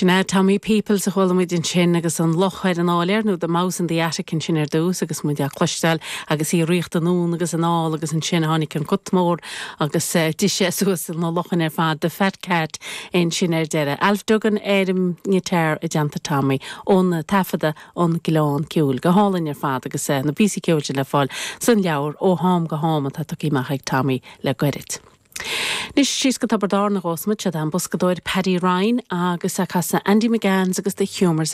Sin é Tommy Peoples a chuala muid ansin agus an luch ar an áiléar, nó The Mouse in the Attic ansin ar dtús agus muid á cloisteáil agus í ag ritheacht anonn agus anall agus ansin tháinig an cat mór agus d'ith sé suas na luchain ar fad, The Fat Cat ansin ar deireadh. Alf Duggan ar an ngiotár i dteannta Tommy ón taifeadadh An Gleann Ceoil. Go hálainn ar fad agus na píosaí ceoil sin le fáil san leabhar Ó Ham go Ham atá tugtha amach ag Tommy le goirid. Anois síos go Tiobraid Árann a ghabhfas muid, siod é an boscadóir Paddy Ryan agus é ag casadh Andy McGann's agus The Humours of.